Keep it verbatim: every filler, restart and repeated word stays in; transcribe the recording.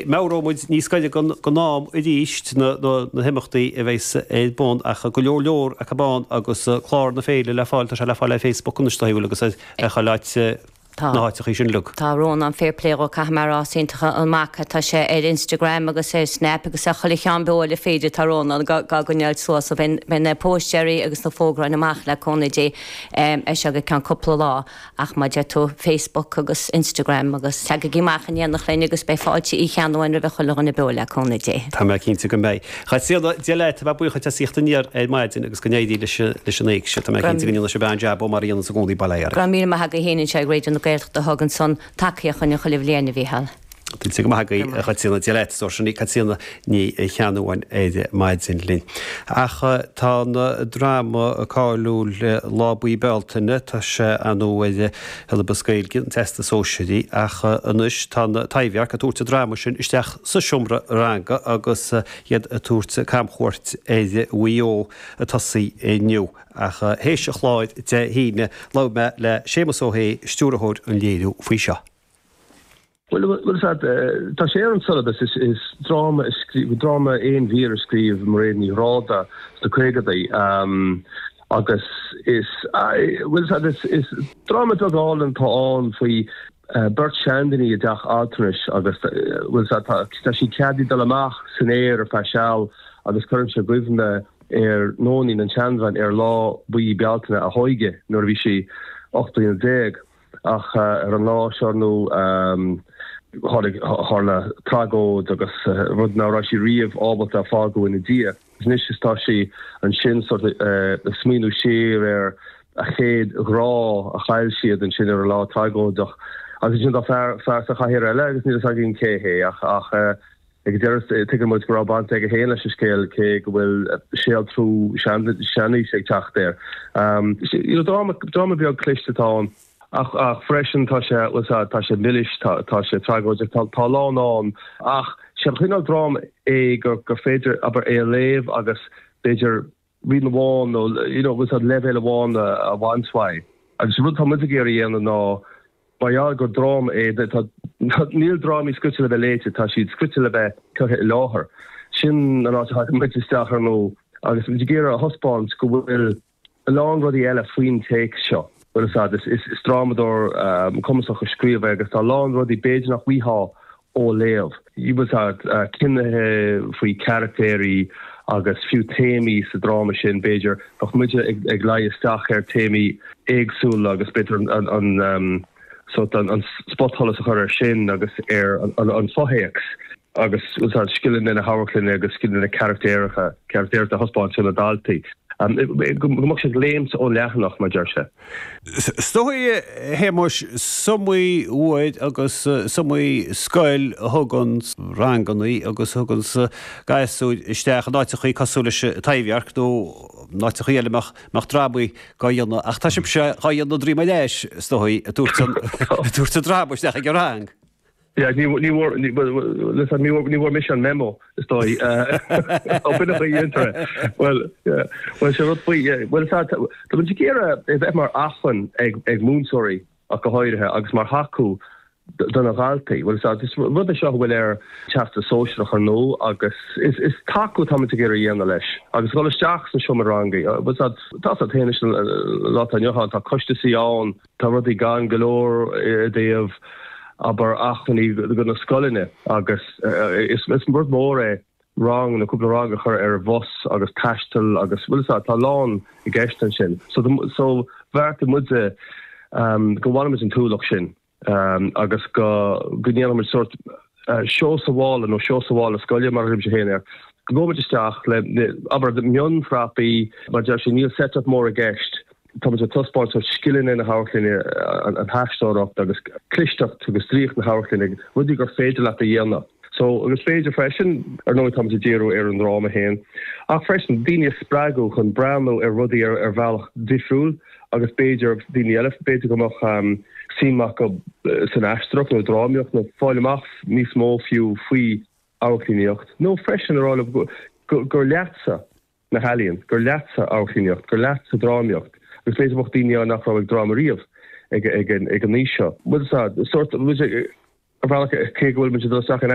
Meabhróidh muid níos gaire don am arís na himeachtaí a bheas ar bun ach go leor leor acu ann agus clár na féile le fáil, tá sé le fáil ar Facebook anois tá shíl agus ar chuile áit na háiteachaí sin uilig. Tá Rónán fair play dhó caithfidh mé a rá is iontach an mac é tá sé ar Instagram agus ar Snap agus ar chuile cheann beo le féidir tá Rónán dhá gcoinneáil suas so beidh na póstaeirí agus na fógráin amach le cúnamh Dé ar seo go ceann cúpla lá. Ach mar a deir tú, Facebook agus Instagram agus tagaigí amach in éineacht linn agus beidh fáilte Uí Cheannabháin roimh chuile dhuine beo le cúnamh Dé. Tá mé cinnte go mbeidh. A Chaitríona, Dia leat, tá mé buíoch as ucht a theacht aniar ar maidin agus go n-éirí leis leis an éigse. Tá mé cinnte go ndéanfaidh sibh an-jab ó mar a dhéanann i gcónaí bail ó Dhia oraibh. Go raibh míle maith agaibh féin anseo ag Raidió na Gaeltachta a thugann san tacaíocht chugainn chuile bhliain, a Mhícheáil. Tuillte go maith agaibh, a Chaitríona. Dia leat, is sin í Caitríona Ní Cheannabháin ar maidin linn. Ach tá an dráma cáiliúil Lá Buí Bealtaine, tá sé ar ndóigh ar shiollabas Gaeilge an Teastais Sóisearaigh ach anois tá an Taibhdhearc ag tabhairt an dráma sin isteach sa seomra ranga agus iad ag tabhairt camchuairt ar Mhaigh Eo ag tosaí inniu. Ach théis an chláir Dé hAoine, labhair mé le Séamus Ó hAodha, stiúrthóir an léiriú faoi seo. Bhuel, bhuel, tá sé ar an siollabas, is, is dráma, dráma aon mhír a scríobh Mairéad Ní Ghráda sna caogadaí um, agus is, bhuel, is, is dráma beag álainn atá ann faoi uh, beirt seandaoine i dteach altranais agus bhuel, tá, tá siad ceadaithe dul amach san aer ar feadh seal agus cuireann sé i gcuimhne ar Nóinín an tseanbhean ar lá buí Bealtaine a hóige nuair a bhí sí ocht bliana déag. Ach ar an lá seo nó tháinig tharla tragóid agus rud nach raibh sí riamh ábalta a fágáil ina diaidh. Anois is tá sí ansin sort ag smaoineamh siar ar a chéad ghrá a chaill siad ansin ar an lá tragóideach. Agus ansin tá fear fear sa chathaoir eile agus níl a fhios againn cé hé ach ach ag an deireadh tuigeann muid go raibh baint aige féin leis an scéal cé go bhfuil séaltrú seanaoise ag teacht air. You know, dráma dráma beag cliste atá ann. Ach ach freisin tá sé bhuel tá tá sé milis, tá tá sé tragóideach, tá tá a lán ann ach sé an cineál dráma é gur gur féidir abair é a léamh agus b'fhéidir rian amháin nó you know bhuel tá leibhéal amháin a a bhaint uaidh. Agus an rud atá muid ag iarraidh a dhéanamh ná mar gheall gur dráma é tá níl drámaí scrite le bheith léite, tá siad scrite le bheith curtha i láthair. Sin an áit a thagann muid isteach ar ndóigh agus muid ag iarraidh a thaispeáint go bhfuil a lán rudaí eile faoin téacs seo. Bhuel is ea, is drámadóir cumasach a scríobh é agus tá a lán rudaí b'fhéidir nach bhfaighfeá ó léamh. Bhuel is ea, cinnithe faoi charactéirí agus fiú téamaí sa dráma sin b'fhéidir bheadh muide ag luí isteach ar téamaí éagsúla agus b'fhéidir an sórt an spotsholas a chur air sin agus ar an fothéacs. agus úsáid scileanna na hamharclainne agus scileanna carachtéireacha, carachtéireachta a thaispeáint do na daltaí. Go mbeadh sé ag léimt ón leathanach, mar deir sé. Is dóigh, a Shéamuis, is iomaí uair agus is iomaí scoil a thugann rangannaí agus a thugann gasúir isteach in áiteachaí cosúil leis an Taibhdhearc nó in áiteachaí eile a mbeadh drámaí dhá dhéanamh ach tá sibhse dhá dhéanamh droim ar ais, is dóigh, ag tabhairt an dráma isteach ag an rang. Yeah, ní ní bhfuair ní bhuel listen ní bhfuair ní bhfuair mise an memo is dóigh. Ó b'in a dhéantar é. Bhuel yeah bhuel sé rud faoi yeah bhuel tá tá muid ag iarraidh é bheith mar acmhainn ag ag múinteoirí ach go háirithe agus mar thacú do na dhaltaí. Bhuel is is rud é seo a bhfuil ar Teastas Sóisearach ar ndóigh agus is is tacú atá muid ag iarraidh a dhéanamh leis agus dhul isteach sna seomra ranga. Bhuel tá tá tá féin leis an lá atá inniu ann tá coisteasaí ann tá rudaí gann go leor i dtaobh abair, acmhainní do na scoileanna agus is rud mór é rang nó cúpla rang a chur ar bhus agus taisteal agus bhfuil fhios agat, tá a lán i gceist ansin. So so bheartaigh muide go mbainfimid an t-ualach sin agus go go ndéanfaimid sórt seó sa mhála nó seó sa mhála scoile mar a thugaimse féin air, go ngabhaimid isteach le abair mionphrapaí mar deir sé níl set up mór i gceist. Tá muid ag taispeáint sórt scileanna na hamharclainne, an aisteoireacht agus clisteacht agus draíocht na hamharclainne, rudaí gur féidir leat a dhéanamh. So, agus b'fhéidir freisin, ar ndóigh tá muid ag díriú ar an ndráma féin, ach freisin daoine a spreagadh chun breathnú ar rudaí ar ar bhealach difriúil agus b'fhéidir daoine eile, b'fhéidir go mbeadh suim acu san aisteoireacht nó drámaíocht nó fáil amach níos mó fiú faoi amharclannaíocht nó freisin a rá leo gur leatsa na healaíon, gur leatsa amharclannaíocht, gur leatsa drámaíocht, agus b'fhéidir go mbeadh daoine ann nach raibh ag dráma riamh ag an aois seo. Bhuel, sórt, Ar bhealach cé go bhfuil muid ag dul isteach in